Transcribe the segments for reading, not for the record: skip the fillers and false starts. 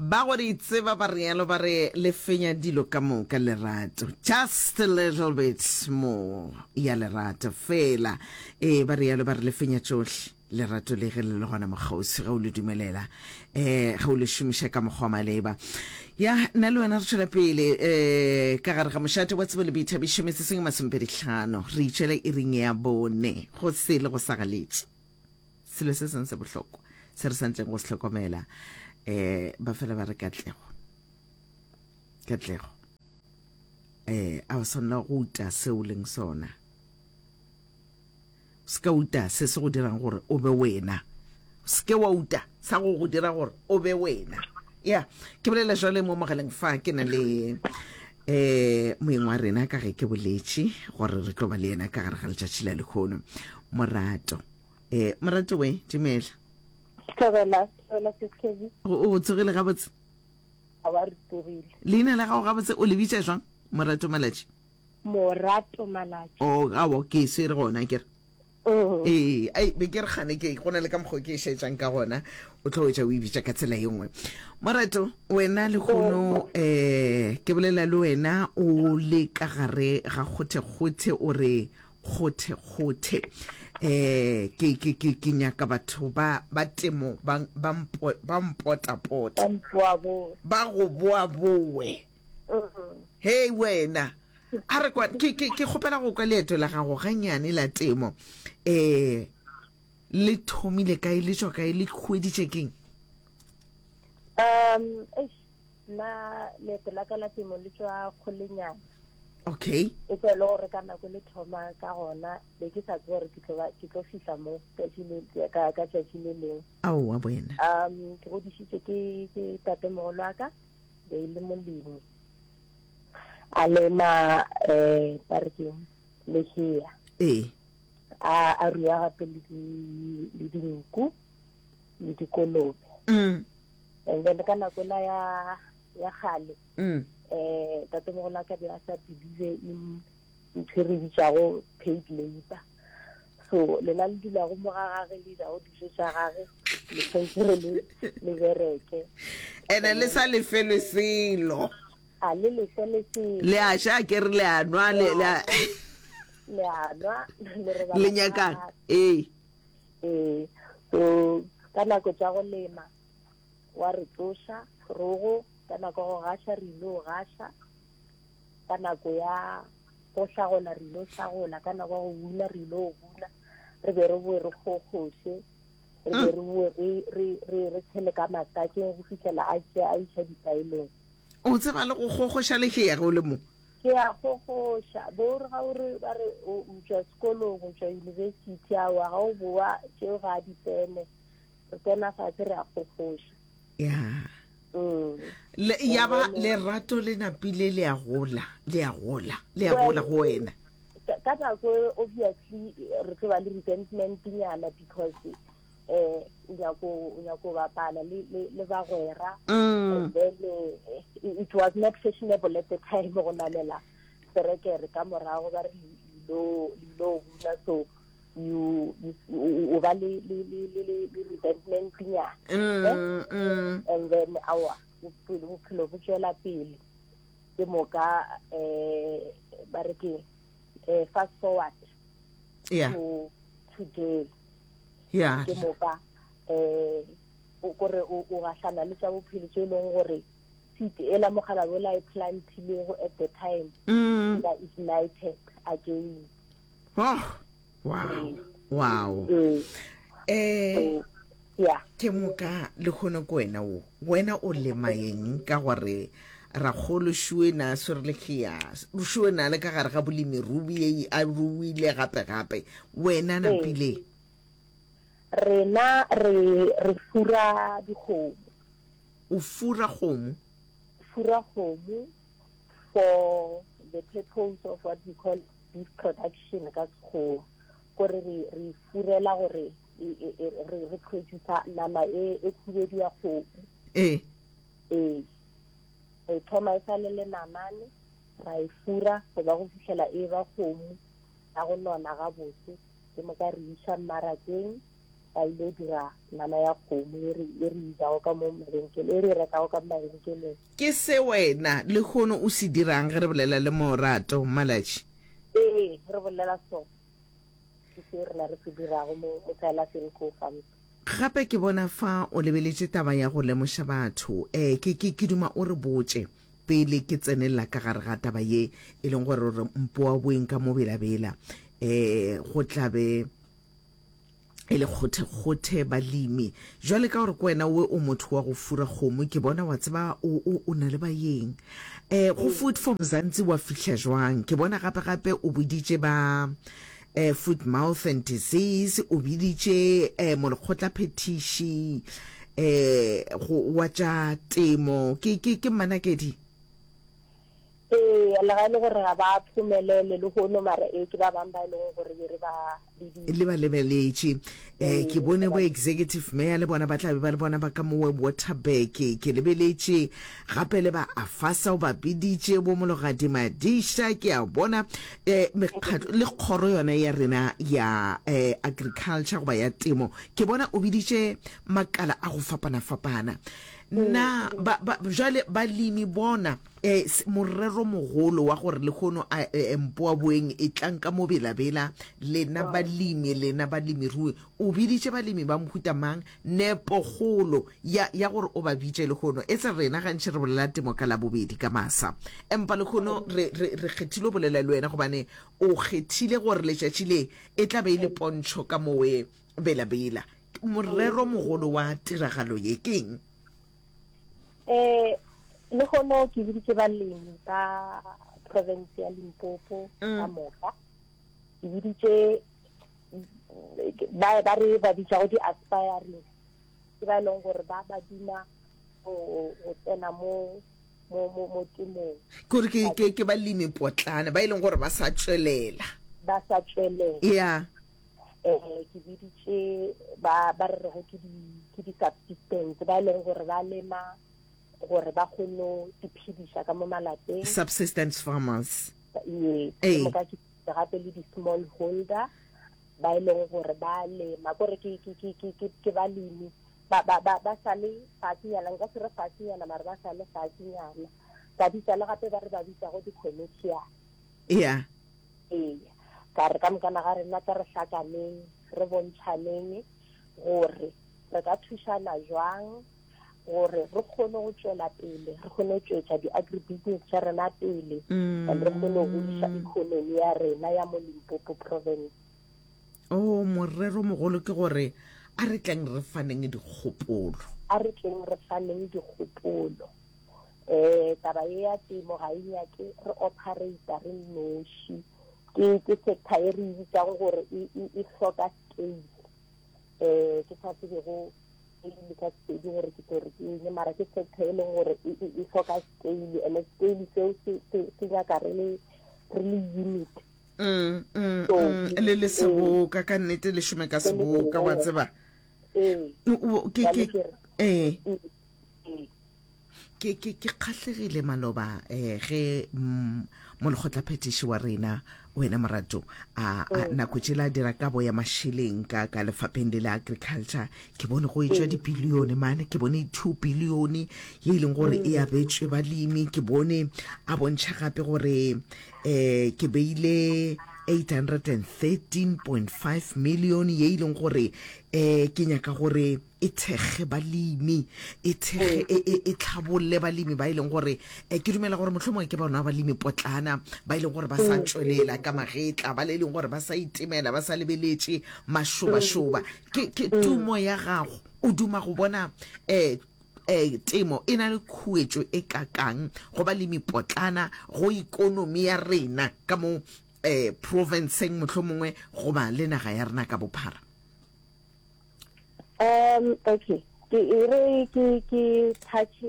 Ba go di tseba ba realo ba re le fenya dilo ka moka lerato. Just a little bit more ya lerato fela. Ee, ba realo ba re le fenya tšohle. Lerato le ge le le gona mokgauswi ge o le dumelela, eh, ge o le šomiša ka mokgwa wa maleba. Ya, nna le wena re tšwela pele eh, ka gare ga mošate wa tsebo le boithabišo metsotso e masomepedihlano. Re itšwela iring ya bone go se le go sa galetše. Selo se sengwe se bohlokwa se re swanetšeng go se hlokomela um ba fela ba re katlego katlego um a o swanela go uta se o leng sona o se ka uta se se go dirang gore o be wena o se ke wa uta sa go go dira gore o be wena ya ke bolela jwale mo mogaleng fa ke na le eh moeng wa rena ka ge ke boletše gore re tlo ba le yena ka gare ga letšatši la lekgono morato eh morato we dumela Thobela, thobela Seskebi. O tsogile gabotse? A ba re tsogile. Leina la gago gabotse o le bitša jwang? Morato Malatši. Morato Malatši. Oh, awo ke swere gona ke re. Mm. Ee, ai be ke re gane ke go na le ka mokgwa ke e šetšang ka gona o tlo wetša o e bitša ka tsela ye nngwe. Morato, wena lehono um ke bolela le wena o le ka gare ga kgothekgothe o re kgothekgothe um ke ke ke ke nyaka batho ba ba temo ba ba mpo ba mpotapota Ba mpoaboe. ba go boaboe hei wena a re kwa ke ke ke kgopela go kwa leeto la gago gannyane la temo um le thomile kae le tšwa kae le hweditše keng Um, eish, nna leeto la ka la temo le tšwa kgolenyana. Okay. E tswa e le gore ka nako le thoma ka gona be ke sa tsebe gore ke tlo ba ke tlo fihla mo tšatši le ka ka tšatši le lengwe. Aowa wena. Um ke godišitšwe ke ke tatemogolo wa ka be e le molemi a lema um ba re keng lehea. Ee. A a rua gape le di le dinku le dikolobe. Mm. And then ka nako la ya ya kgale mm. eh tatemogolo a ka be a sa believe in ntho e re bitšago paid labor so lena le dulago mo ga gage le jago dijo tša gage le tshwanetse re le le bereke ene le sa lefelwe selo a le lefele selo le a ja ke re le a nwa le le a le a nwa le robala le nyakang ee ee so ka nako tša go lema wa re tsoša rogo ka nako ya go gaša re ile go gaša ka nako ya go hlagola re ile hlagola ka nako ya go buna re ile go buna re be re boe re kgokgoše re be re boe re re re re tshele ka matakeng go fihlela a tšea a iša dipaelong o tseba le go kgokgoša lehea ge o le mo ke a kgokgoša bo re ga o re ba re o tšwa sekolong o tšwa university awa ga o boa tšeo ga a di tsene re tsena fatshe re a kgokgoša ya mm. Le, ya ba lerato le napile le a gola le a gola le a gola go wena ka nako e, obviously re tlo ba le resentment nyana because eh o nyako o nyako bapala le le le bagwera mm. and then eh, it was not fashionable at the time go namela serekere ka morago ba re lo lo buna so you you o ba le le le le le resentment nyana mm, eh? mm. and then awa bophelo bophelo bo tswela pele ke moka eh ba re ke eh fast forward yeah to today yeah ke moka eh o kore o o gahlana le tša bophelo tše e leng gore seed ela mogala bola e plantilego at the time mm. ba ignited again Oh, wow. Wow. Mm. Eh, yeah. Ke moka le kgone ko wena o. Wena o lema eng ka gore rakgolo šue na swere lehea šue na le ka gare ga bolemirubi e a ruile gape gape wena napile rena re re fura dikgomo o fura kgomo fura kgomo for the purpose of what we call beef production ka sekgowa gore re re furela gore re re producer nama e e khubedu ya kgomo ee ee re thoma e sa le le namane ra e fura go ba go fihlela e ba kgomo ya go nona gabotse ke moka re iša mmarakeng. Ba ile dira nama ya kgomo e re e re jago ka mo mabenkeleng, e re e rekago ka mo mabenkeleng. Ke se wena lehono o se dirang ge re bolela le Morato Malatji? Ee, re bolela so. Ke se rena re se dirago mo mo Silas and Co Farms. Gape ke bona fa o lebeletše taba ya go lemoša batho. Eh, ke, ke, ke duma o re botše pele ke tsenelela ka gare ga taba ye e leng gore re mpoaboeng ka mo Bela-Bela. Eh, go tla be e le kgothekgothe balemi. Jwale ka gore ke wena we o motho wa go fura kgomo, ke bona wa tseba o, o, o na le baeng. Eh, go Food for Mzansi wa fihla jwang? Ke bona gape gape o boditše ba eh, Foot Mouth and Disease, o biditše eh, molekgotlaphethiši eh, go wa tša temo. Ke, ke, ke Mmanakedi? Ee, le ga e le gore ga ba phomelele lehono, mara ee ke ba bang ba e leng gore be re ba biditše. Le ba lebeletše. Eh, ke bone bo executive mayor le bona ba tla be ba le bona ba ka mowe Waterberg. Ke lebeletše gape le ba AFASA o ba biditše, bo Mologadi Madisha, ke a bona eh, mekgatlo le kgoro yona ya rena ya eh, agriculture goba ya temo. Ke bona o biditše makala a go fapana-fapana. Na ba, ba, bjale balemi bona E, morero mogolo wa gore lehono a e, mpoaboeng e tlang ka mo Bela-Bela, lena balemi, lena balemirui, o biditše balemi ba mohuta mang? Nepokgolo ya, ya gore o ba bitše lehono, e se rena gantši re bolela temo ka Labobedi ka masa, empa lehono re, re, re kgethile go bolela le wena gobane o kgethile gore letšatši le e tla be e le pontšho ka mowe Bela-Bela. Morero mogolo wa tiragalo ye ke eng? Eh, lehono ke biditše balemi ba province ya Limpopo mm. ka moka. Ke biditše ba ba re ba bitšago di-aspiring ke ba e leng gore ba ba duma go tsena mo mo mo mo temong. Kore ke ke ke balemi potlana ba e leng gore ba sa tšwelela. Ba sa tšwelela. Yeah. Eh ke biditše ba ba re rego ke di ke di subsistence ba e leng gore ba lema gore ba kgone go iphediša ka mo malapeng. Subsistence farmers. Yes. Ke moka ke gape le di small holder ba e leng gore ba lema kore ke ke ke ke ke ke balemi ba ba ba ba sa le fatshenyana nka se re fatshenyana mara ba sa le fatshenyana ka bitsa le gape ba re ba bitsago di-commercial. Yeah. Eya, ka re ka mokana ga rena tla re hlakaneng, re bontšhaneng gore re ka thušana jwang gore re kgone go tšwela pele, re kgone go tšwetša di-agribusiness tša rena pele, and re kgone go godiša economy ya rena ya mo Limpopo province. Oh, morero mogolo ke gore a re tleng re faneng dikgopolo. A re tleng re faneng dikgopolo. um taba ye ya temo ga e nyake re operator re nnoši ke ke sector e re e bitsang gore e, e, e hloka scale um ke sa tsebego scale ka sepedi gore ke tlo re ke eng mara ke sector e leng gore e, e hloka scale and scale seo se nyaka re le re le unit mm, mm, mm, le le seboka ka nnete le šome ka seboka wa tseba ee ee Ke, ke, ke kgahlegile maloba eh, ge mm, molekgotlaphethiši wa rena wena Morato a, a mm. nako tšela a dira kabo ya mašeleng ka, ka lefapheng le la agriculture ke bone go etšwa mm. dibilione mane ke bone two bilione ye e leng gore e mm. abetšwe balemi ke bone a bontšha gape gore eh ke beile 813.5 million ye e leng gore eh ke nyaka gore e thekge balemi e thekge e, e, e tlhabolle balemi ba e leng gore eh, ke dumela gore mohlomongwe ke bona balemi potlana ba e leng gore ba sa mm. tšwelela ka magetla ba le e leng gore ba sa itemela ba sa lebeletše mašobašoba ke, ke mm. tumo ya gago o duma go bona eh, eh, temo e na le khuetšo e kakang go balemi potlana go ikonomi ya rena ka mo eh, provinceng mohlomongwe goba le naga ya rena ka bophara Um okay ke e re ke ke touch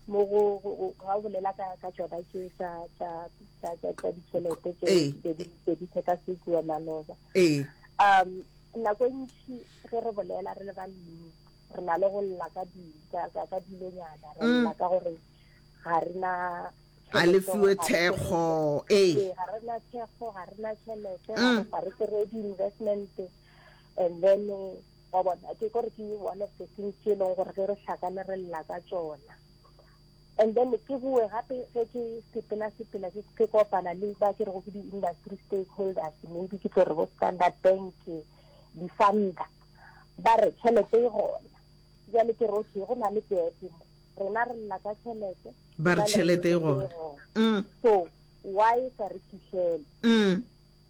mo go ga o bolela ka ka tsona tše tsa tsa tsa tsa tsa ditšhelete tše di di di sekasekiwa maloba ee um nako e ntši ge re bolela re le balemi re na le go lla ka di ka ka dilonyana re mm. lla ka gore ga re na a le fiwe thekgo ee ga re na thekgo ga re na tšhelete mm. ga re kry di-investment and then. Wa bona, ke kore ke one of the things tše e leng gore ge re hlakane re lla ka tšona. And then ke boe gape ge ke sepela sepela ke ke kopana le ba ke rego ke di-industry stakeholders, maybe ke tlo re bo Standard Bank, di-funder, ba re tšhelete e gona. Bjale ke re okay, go na le gap mo. Rena re lla ka tšhelete, Ba re bona le re tšhelete e tšhelete e gona. gona. Mm. So why e sa re fihlele? Mm.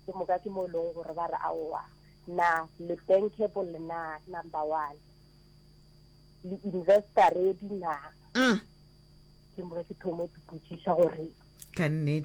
Ke moka ke mo e leng gore ba re aowa, na le bankable na, number one, le investor ready na? Mm. Ke moka ke thoma go ipotšiša gore Ka nnete.